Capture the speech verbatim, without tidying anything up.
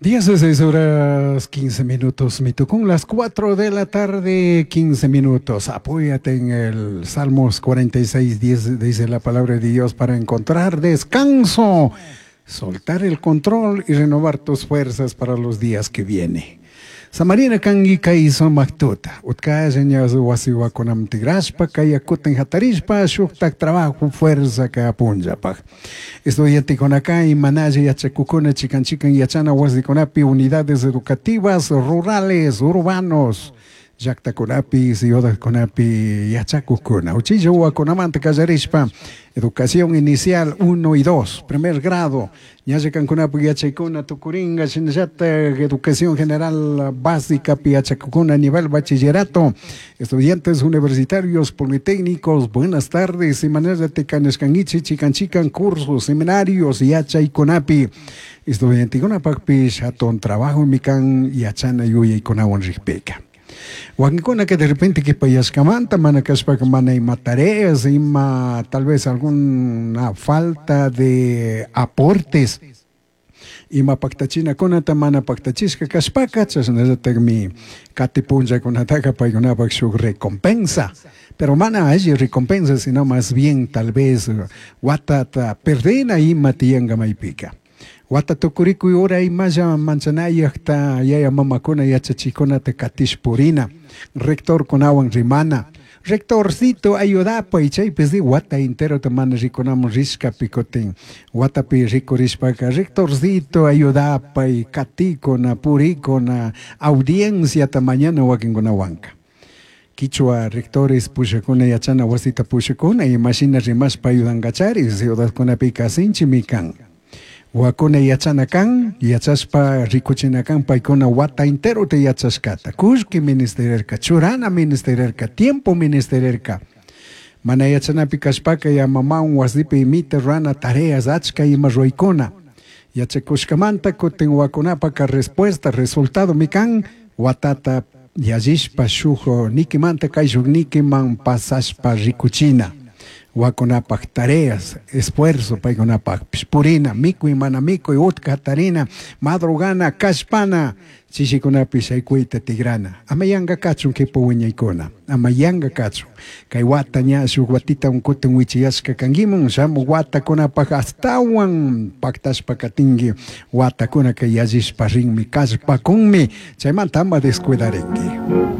Dieciséis horas quince minutos, Mitucún, las cuatro de la tarde, quince minutos. Apóyate en el Salmos cuarenta y seis, diez, dice la palabra de Dios, para encontrar descanso, soltar el control y renovar tus fuerzas para los días que vienen. Samarina kangi kay sumaktuta, utkalla ña wasiwakunam tigrashpa, kay akutin hatarishpa, shuktak trabajo fuerza ka punllapaj. Estudiantekunaka imanalla yachakukuna chikan chikan yachana wasikunapi unidades educativas rurales, urbanos, llaqtakunapi, ciudadkunapi yachakukuna. Uchilla wawakunamanta kallarishpa, educación inicial uno y dos, primer grado, ñalla kankunapi yachaykuna tukuringa, shinallata educación general básica pi yachakukuna nivel bachillerato, estudiantes universitarios, politécnicos, buenas tardes, imanallata kanishkankichik, chikan chikan cursos, seminarios, yachaykunapi, estudiantekunapakpish hatun trabajo mikan yachana yuyaykunawan rikpika. Wakinkuna que de repente que payashkamanta, mana kashpaka mana ima tareas, ima tal vez alguna falta de aportes, ima paktachinakunata mana paktachishka kashpaka, chashnallatagmi kati punllakunataka paykunapak shuk recompensa. Pero mana alli recompensa, sino más bien tal vez watata perdena ima tiyanka maypika. Wata tukurikuy ura imalla manchanayaqta yaya mamakuna yachachikunata katishpurina, rectorkunawan rimana, rectorcito ayudapay, chaypis di wata enterota mana rikunamun rishkapi kutin, watapi rikurishpaka rectorcito ayudapay, katikuna, purikuna, audienciata mañana wakinkunawanka. Quichua rectores pushakuna yachana wasita pushakuna, imashina rimashpa ayudankachari, ciudadkunapika sinchimi kan. Wakuna yachana kan, yachashpa rikuchina kan, paykuna wata entero te yachashkata. Kullki ministererka, churana ministererka, tiempo ministererka. Mana yachanapi kashpaka ya mamawan wasipi imita rana tareas achka ima ruwaykuna. Yachakushkamanta kutin wakunapaka respuesta, resultado mikan, watata yallishpa shuk nikimanta kayshuk nikiman pasashpa rikuchina. Wakunapaj tareas, esfuerzo, paykunapaj purina, mikuy mana mikuy, utka tarina, madrugana, kashpana, chishikunapi shaykuyta tigrana. Ama yanka kachun kipu wiñaykuna, ama yanka kachun. Kay wata ña shuk watita unkutin wichiyashka kankimun, shamu watakunapaj astawan paktashpa katinki, watakuna kay yallishpa rinmi, kashpakunmi, chaymanta ama descuidarinki.